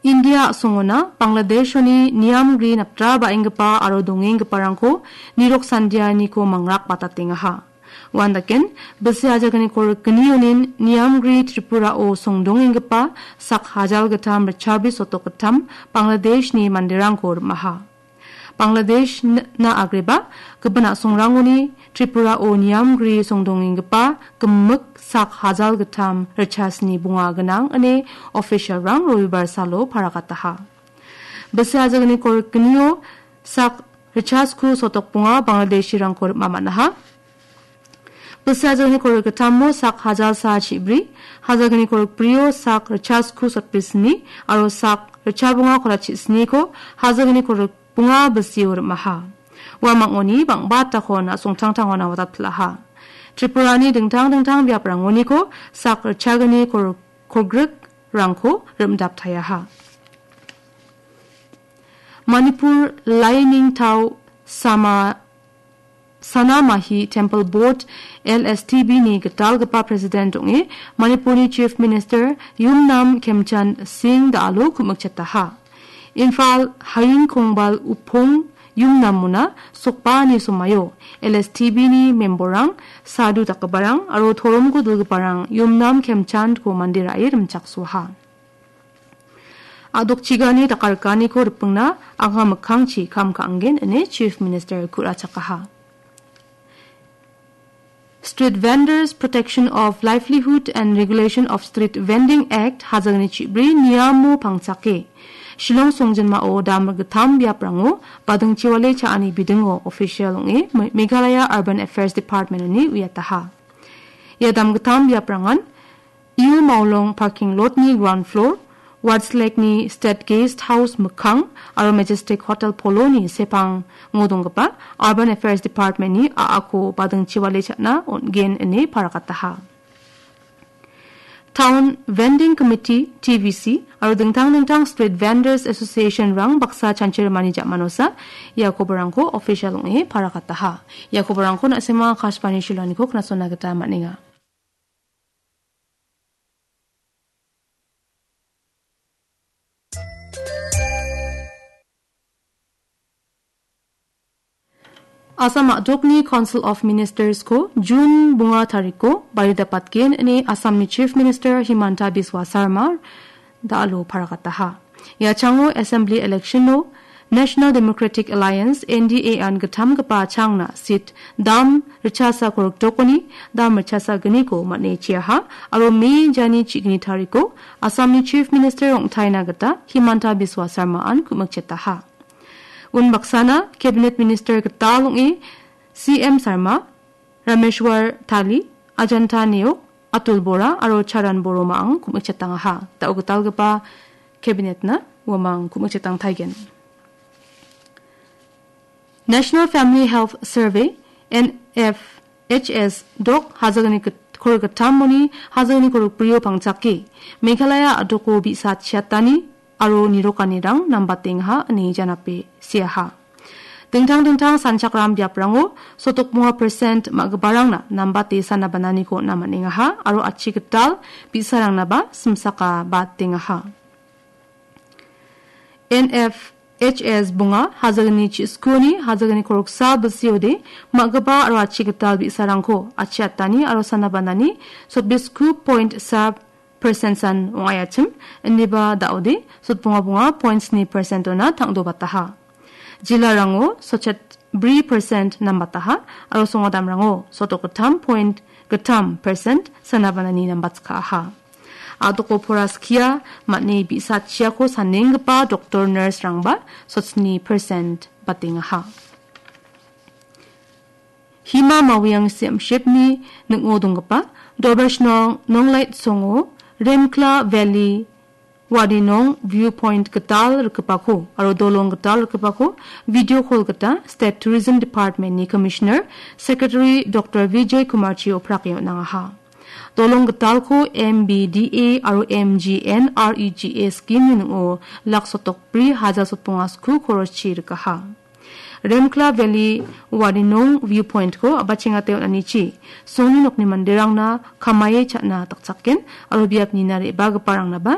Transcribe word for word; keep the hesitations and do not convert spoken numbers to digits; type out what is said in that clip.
India a·songona Bangladeshoni niamgri naptra ba·enggipa aro dongenggiparangko nirok sandianiko mangrak batatengaha. Uandaken, bisi ajagniko rikginionin niamgri Tripurao songdongenggipa sak hajal gittam ritchabri sotok gittam Bangladeshni manderangko rim·aha. Bangladesh n-, na agreba gipin a·songrangoni Tripurao niamgri songdongenggipa gimik sak hajal gittam ritchasni bonga gnang ine officialrang Robibar salo parakataha. Bisi ajagniko rikginio sak ritchasku sotok bonga Bangladeshirangko rim·a man·aha. Bisi ajagniko rikgittamo sak hajal sa chibri, hajagniko rikbrio sak ritchasku sotbri sni, aro sak ritchabonga kolatchi sniko hajagniko rikbonga bisio rim·aha. Uamangoni bang·batako na·songtangtangona watatpilaha. Tripurani dingtang dingtang biaprangoniko sak ritchagni kor-, kolgrikrangko rim·daptayaha. Manipur Lainingtao Sama Sanamahi Temple Board, L S T B ni gitalgipa President ong·e Manipurni Chief Minister Yumnam Khemchand Singh Dalo ku·mikchetaha. Imphal Haying Kongbal Upong Yumnamona sokbaani somaio L S T B ni memberrang, sadhu dakgiparang aro toromko dilgiparang Yumnam Khemchandko mande ra·e rimchaksoaha. A·dokchigani dakarikaniko ripengna anga mikkangchi kam ka·angen ine Chief Minister ku·rachakaha. Street Vendors Protection of Livelihood and Regulation of Street Vending Act hajangni chibri niamo pangchake Shillong songjinmao dam gittam biaprango badingchiwale cha·ani bidingo official ong·e Me-, Meghalaya Urban Affairs Department-oni uiataha. Ia dam gittam biaprangan U Maulong parking lot-ni ground floor, Wardslake-ni State Guest House mikkang aro Majestic Hotel Polo-ni sepango donggipa Urban Affairs Department-ni a·ako badingchiwale cha·na on·gen ine parakataha. Town Vending Committee, T V C, aro dingtang dingtang Street Vendors Association-rang baksa chanchirimani ja·manosa ia koborangko official ong·e parakataha. Ia koborangko na·sema Akashvani Shillong-niko knasona gita man·enga. Assam a·dokni Council of Ministers-ko June bonga tariko baridapatgen ine Assamni Chief Minister Himanta Biswa Sarma da·alo parakataha. Ia chango Assembly election-o National Democratic Alliance, N D A-an gittamgipa changna seat dam ritchasa korikdokoni dam ritchasa gniko man·e chiaha aro May jani chigni tariko Assamni Chief Minister ong·taina gita Himanta Biswa Sarma-an ku·mikchetaha. Unbaksana Cabinet Minister gital ong·e C M Sarma, Rameshwar Tali, Ajanta Neok, Atul Bora aro Charan Boroma-ang ku·mikchetangaha. Da·o gitalgipa Cabinet-na uamang ku·mikchetangtaigen. National Family Health Survey, N F H S, dok hajagni git-, kor gittamoni hajagni korikbrio pangchake Meghalaya a·doko bi·sa chiatani aro nirokanirang nambatengaha ine janape seaha. Dingtang dingtang sanchakram biaprango sotokmonga percent ma·giparangna nambate sana bananiko on·a man·engaha aro achi gital bi·sarangnaba simsaka batengaha. N F H S bonga hajagni chi-, skuni hajagni koroksa bilsiode ma·gipa aro achi gital bi·sarangko achi atani aro sana banani sotbisku point sa percent san ong·aiachim, indiba da·ode sotbonga bonga point sni percent-ona tang·dobataha. Jilarango sotchet bri percent nambataha aro songadamrango sotok gittam point gittam percent sana banani nambatskaaha. A·doko pora skia man·e bi·sa chiako sanenggipa doktor, nurse-rangba sotsni percent batengaha. Hima Mawiang Siamshipni ning·o donggipa Dobershnong Nonglait Songo, Remkla Valley, Wadinong Viewpoint gital rikgipako aro dolong gital rikgipako video call gita State Tourism Department-ni Commissioner, Secretary Doktor Vijay Kumarchi oprake on·angaha. Dolong gitalko M B D A aro M G N R E G A scheme-ni ning·o lak sotok bri haja sotbonga sku koroschi rikaha. Remkla Valley Wadinong Viewpoint-ko a·bachengate on·anichi songni nokni manderangna kamaie cha·na dakchaken aro biapni na re·bagiparangnaba